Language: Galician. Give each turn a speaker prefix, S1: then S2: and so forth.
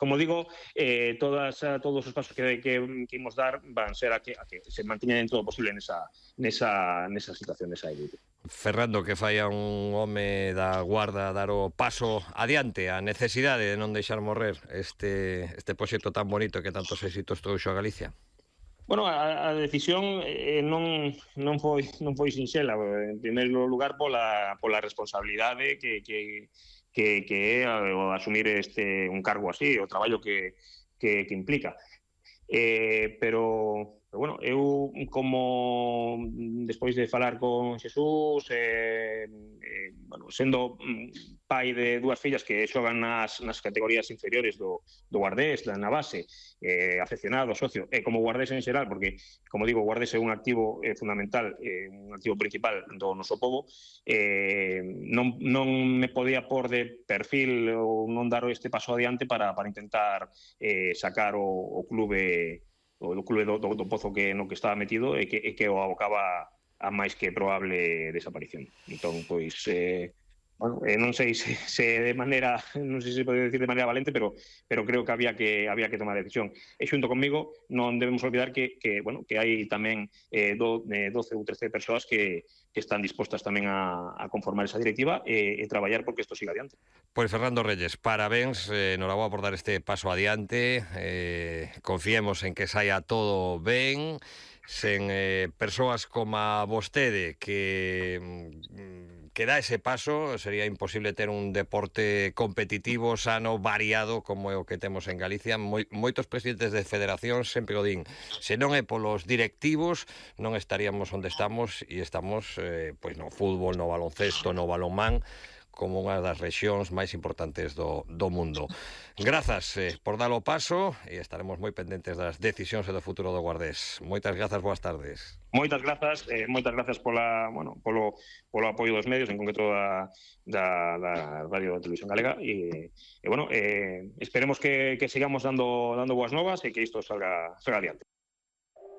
S1: como digo, todos os pasos que imos dar van ser a que se manteña dentro do posible nesa situación, nesa élite.
S2: Ferrando, que fai a un home da Guarda dar o paso adiante, a necesidade de non deixar morrer este proxecto tan bonito que tantos éxitos trouxo a Galicia?
S1: Bueno, a decisión non foi sinxela. En primeiro lugar, pola responsabilidade que é o asumir un cargo así, o traballo que implica. Pero bueno, eu como despois de falar con Xesús, bueno, sendo pai de dúas fillas que xogan nas categorías inferiores do Guardés, na base, afeccionado, socio, e como Guardés en xeral, porque, como digo, Guardés é un activo fundamental, un activo principal do noso pobo, non me podía pôr de perfil ou non dar este paso adiante para intentar sacar o clube do pozo no que estaba metido e que o abocaba a máis que probable desaparición. Entón, pois, bueno, non sei se de maneira, non sei se pode decir de maneira valente, pero creo que había que tomar a decisión. E xunto comigo non debemos olvidar que bueno, que hai tamén 12 ou 13 persoas que están dispostas tamén a conformar esa directiva e traballar porque isto siga adiante.
S2: Pois Fernando Reyes, parabéns, noraboa por dar este paso adiante, confiemos en que saia todo ben, sen persoas como vostede que dá ese paso, sería imposible ter un deporte competitivo, sano, variado, como é o que temos en Galicia. Moitos presidentes de federacións sempre o din, se non é polos directivos, non estaríamos onde estamos, e estamos pois no fútbol, no baloncesto, no balonmán, como unha das rexións máis importantes do mundo. Grazas por dar o paso e estaremos moi pendentes das decisións e do futuro do Guardés. Moitas grazas, boas tardes.
S1: Moitas grazas polo apoio dos medios, en concreto da Radio e Televisión Galega, e bueno, esperemos que sigamos dando boas novas e que isto salga adiante.